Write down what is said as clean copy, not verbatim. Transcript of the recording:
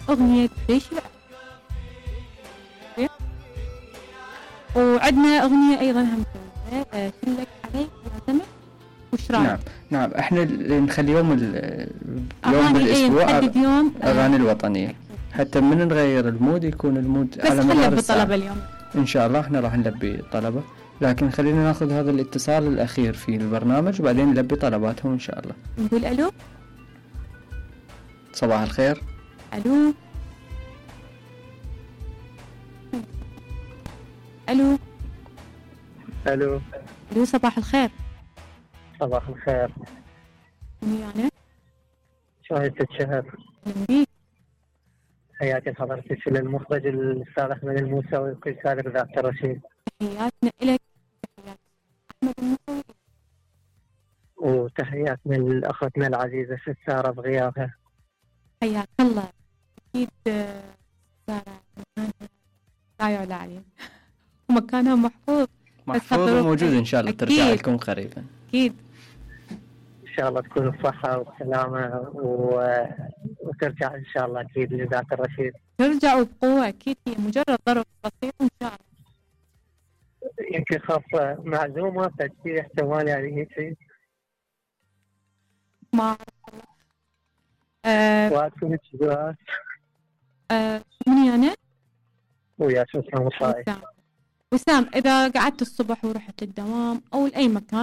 أغنية ليش لا. وعندنا أغنية أيضا هم كلك عليك يعتمد. وش رأيك؟ نعم احنا نخلي يوم بالأسبوع يوم أغاني الوطنية حتى من نغير المود يكون المود على مدار الساعة. اليوم إن شاء الله احنا راح نلبي طلبة، لكن خلينا ناخذ هذا الاتصال الأخير في البرنامج وبعدين نلبي طلباتهم إن شاء الله. نقول ألو. صباح الخير. ألو. ألو. ألو. ألو صباح الخير. صباح الخير. يعني شاهدت شهر. أهلا بيك. حياتي حضرتك للمخرج الأستاذ أحمد الموسوي وكل سابق ذات الرشيد. تحياتنا إلك. تحيات أحمد الموسوي. وتحياتنا لأختنا العزيزة سارة بغيابها. حياك الله. أكيد سارة مكانها لا يعلى عليه ومكانها محفوظ وموجود إن شاء الله. ترجع لكم قريبا أكيد إن شاء الله تكون بصحة وسلامة وترجع إن شاء الله أكيد لذات الرشيد. ترجع بقوة أكيد، هي مجرد ظرف بسيط إن شاء الله. يمكن خاف معزومة فشي احتمال يعني هيك ما وأكون الجوات مني أنا ويا شو اسمه وسام. إذا قعدت الصبح ورحت الدوام أو لأي مكان